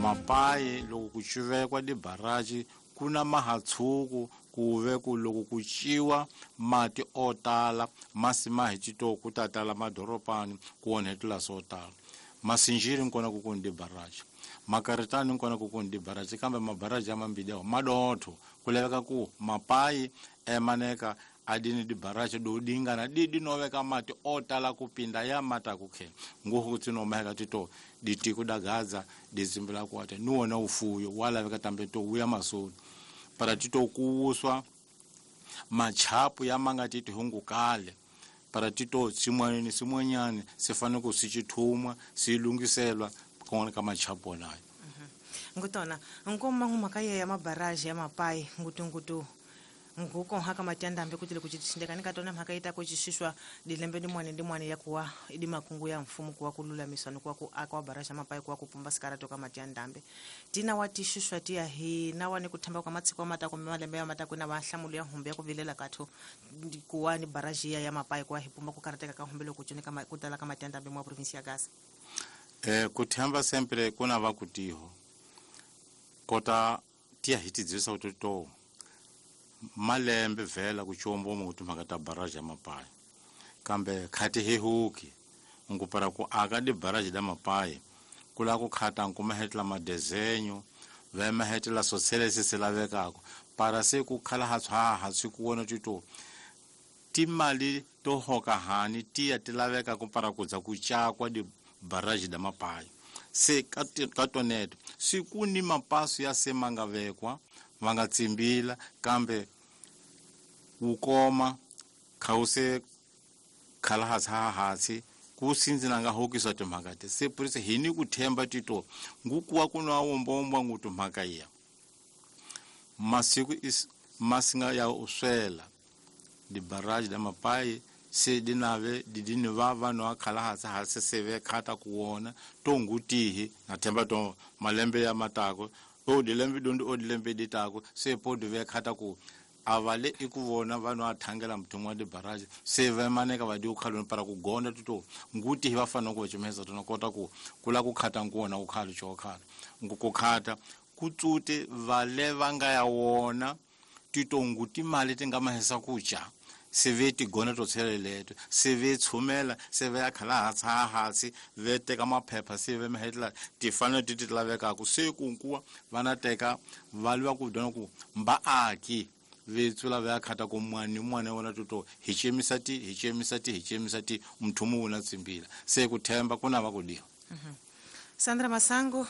Mapayi loko ku cuvekwa dibaraji ku na mahatshuku ku ve ku loko ku ciwa mati o tala masi ma hi cito ku ta tala madoropani ku onhetela swo tala. Masinjiri nkona ku kuni dibaraji, makaritani nkona ku kuni dibaraji, kambe mabaraji ya mambili awo madotho ku laveka ku mapayi emaneka adini dibaraji do dingana didi noveka mati o tala kupinda ya mata kukhe nguhu kutsinomaheka tito ditiku dagadza dizimbila kwate niwona ufuyo walaveka tambe to wuya masoni para tito kuwuswa machapu ya manga titi hungukale para tito tsimwaneni simwanyani sifane ku sichithumwa silungiselwa kona ka machapu onayo. Ngutona nkoma mhaka ya mabaraji ya mapayi ngutungutu nguko haka matiandambe kuti likuchitindekani katona mhaka ita kuchishishwa dilembe dimwane dimwane ya kuwa idi makungu ya mfumo kuwa kululamiswa ni kuwa ku aka baraja mapayi kuwa kupumba sikara toka matiandambe tina watishishwa tiya hi nawa ni kuthamba kwa matsiko matako malembe ya matako na wahlamulo ya humbe ya kuvilela katho kuwa ni baraji ya mapayi kuwa hipumba kukarateka ka humbe loko chone kama kutala ka matiandambe mwa province ya Gaza. Kuthamba sempre kuna vakutiho kota tiya hitidzisa kuti to malembe vhela kuchombo muti mhaka ta baraji ya mapayi kambe khati hihuki ngupara ku aka di baraji da mapayi kula ku khata nkumahetela madezenyo vemahetela sotselesi se lavekako para se ku khala ha tswaha swi ku wona tito timali to hoka hani tiya ti laveka ku para ku dza ku cakwa di baraji da mapayi se ka toneto swi ku ni mapaso ya se ma nga vekwa va nga tsimbila kambe wu koma khawuse khala hansi ha hansi ku sindzina nga hokisa timhaka ti se purisa hi ni ku themba tito ngukuwa ku nwa wombombwa ngu timhaka ya masiku is masinga ya uswela dibaraji da mapayi se dinave didini va vanhu va khala hansi hansi se ve khata ku wona to ngutihi na themba to malembe ya matako o dilembe dondi o dilembe ditako se po di ve khata ku avale i ku vona vanhu va thangela muthumu wa dibaraji se va maneka va di ukhaloni para ku gonda tuto nguti hi va fanele ku va cimesa tona kota ku kula ku khata nkuwona ku khalo cho khalo ngu ku khata ku tsute vale va nga ya wona tito nguti mali ti nga mahisa ku ca se ve tigona to tsheleleto se ve tshumela se ve ya khala hansi ha hansi ve teka maphepha se ve mahetela tifanele ti ti lavekaka se ku nkuwa va na teka va lwa ku dyona ku mbaaki ve tsula va ya khata ku mwani mwana wona toto hi cemisa ti hi cemisa ti hi cemisa ti mthumu wu na tsimbila se ku themba ku na va ku diwa. Sandra Masango.